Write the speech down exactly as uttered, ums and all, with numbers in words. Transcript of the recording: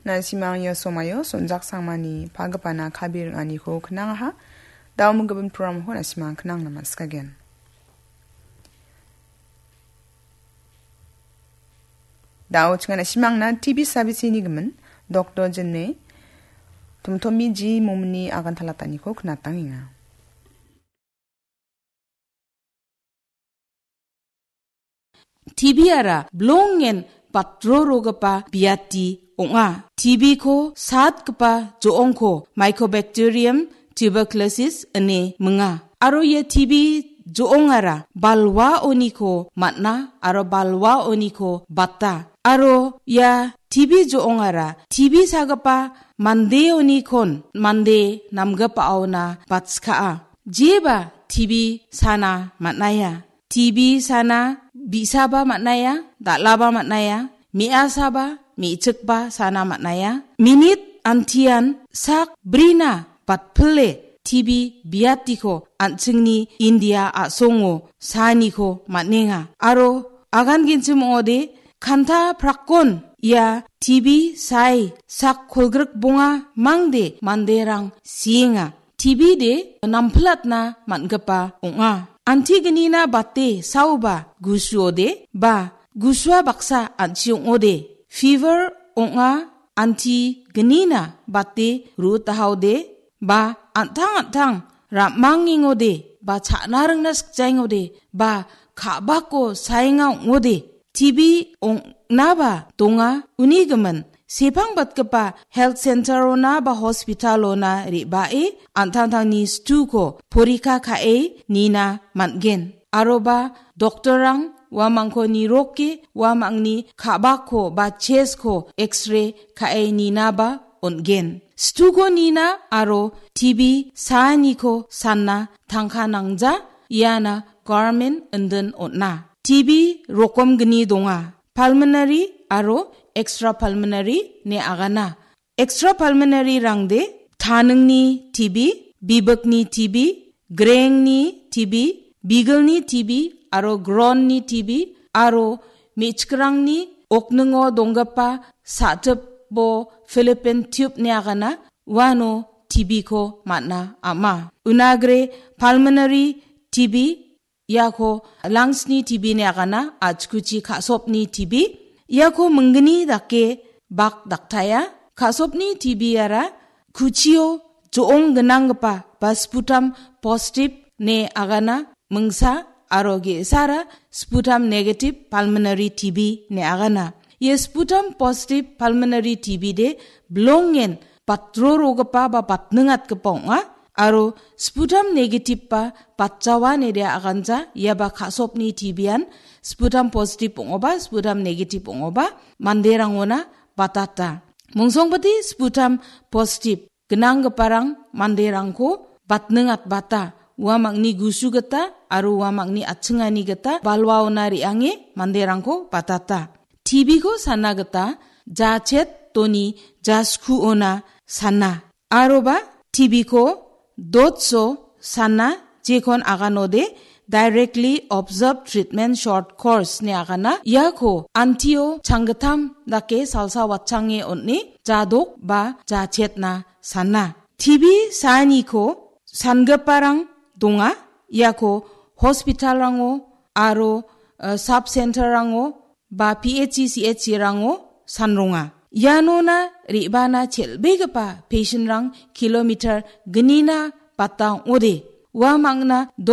Na·simang ia somaio Sonjak Sangmani pagipana kabi ring·aniko knangaha. Dao minggimin programko na·simang knangna man·sikagen. Dao chinga na·simangna T B sabisini gimin Doktor Jine Tomtomi G Momni agantalataniko knatangenga. T B ara bilongen batrorogipa biati ong·a. T B-ko satgipa jo·ongko Mycobacterium tuberculosis ine minga. Aro ia T B jo·ongara balwaoniko man·a aro balwaoniko bata. Aro ia T B jo·ongara T B sagipa mandeonikon mande namgipaona batskaa. Jeba T B sana man·aia. T B sana bi·saba man·aia, dal·aba man·aia, me·asaba, me·chikba sana man·aia. Minit antian sak brina batpile T B biatiko an·chingni India a·songo saaniko man·enga. Aro agan genchim ong·ode, kanta prakkon ia T B sae sak kolgrik bonga mangde manderang sienga. T B de nampilatna man·gipa ong·a. Antignina bate saoba gusuode ba gusua baksa an·chi ong·ode. Fever ong·a antignina bate ru·tahaode ba an·tang an·tang ra·mangengode ba cha·na ringna sikjaengode ba ka·bako saenga ong·ode. T B ong·naba donga uni gimin. Sepang batgipa health center-ona ba hospital-ona re·bae an·tangtangni situko porika ka·e nina man·gen. Aroba doktorrang uamangko niroke uamangni ka·bako ba chest-ko X-ray ka·e ninaba on·gen. Situko nina aro T B saaniko sanna tangka nangja iana government indin on·a. T B rokom gni donga. Pulmonary aro extrapulmonary ine agana. Extrapulmonary rangde taningni T B, bibikni T B, grengni T B, bigilni T B aro gronni T B aro me·chikrangni okningo donggipa sa·tipo Philippine tube ine agana uano T B-ko man·a ama. Unagre pulmonary T B iako lungs-ni T B ine agana, a·chikuchi ka·sopni T B. Iako minggni dake bak daktaia. Ka·sopni T B-ara kuchio jo·ong gnanggipa ba sputum positive ine agana mingsa aro ge·sara sputum negative pulmonary T B ine agana. Ia sputum positive pulmonary T B de bilongen batrorogipa ba batningatgipa ong·a. Aro sputum negative ba batjawa ine de aganja, ia ba ka·sopni T B-an sputum positive ong·oba, sputum negative ong·oba, manderangona batata. Mongsongpati sputum positive gnanggiparang manderangko batningatbata, uamangni gusu gita aro uamangni atchingani gita balwaona re·ange manderangko batata. T B-ko sana gita jachet toni jaskuona sana. Aroba T B-ko dotso sana jekon aganode directly observed treatment short course ine agana. Iako antio changgittam dake salsa watchange on·e jadok ba jachetna sana. T B saaniko sangiparang donga. Iako hospital-rango aro, eh, sub center-rango ba P H C, C H C-rango sanronga. Ianona re·bana chel·begipa patient-rang kilometer gnina bata ong·ode. Uamangna